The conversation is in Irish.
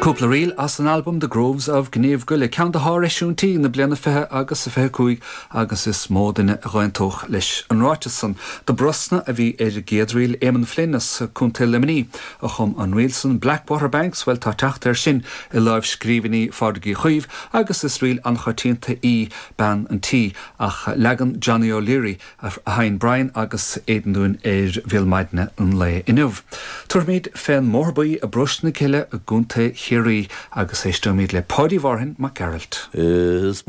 Cúpla ríl as an albam The Groves of Gneeveguilla, ceann de shár-eisiúintí na bliana 20 agus a 25 agus is mó duine a dh'aontódh leis an ráiteas san. Do Brosna a bhí ar an gcéad ríl, Éamonn Flynn as Contae Luimnigh a chum an ríl san. Blackwater Banks, bhuel tá teacht air sin i lámhscríbhinní Phádraig Uí Chaoimh agus is ríl an-choitianta í Bean an Tí ach leagan Johnny O'Leary a sheinn Brian agus Aidan dúinn ar Bhéal Maidine an lae inniu. Tabharfaimid fén mBóthar Buí i bParóiste na Cille i gContae Chiarraí agus éisteoimid le Páidí Mhárthain Mac Gearailt. Is.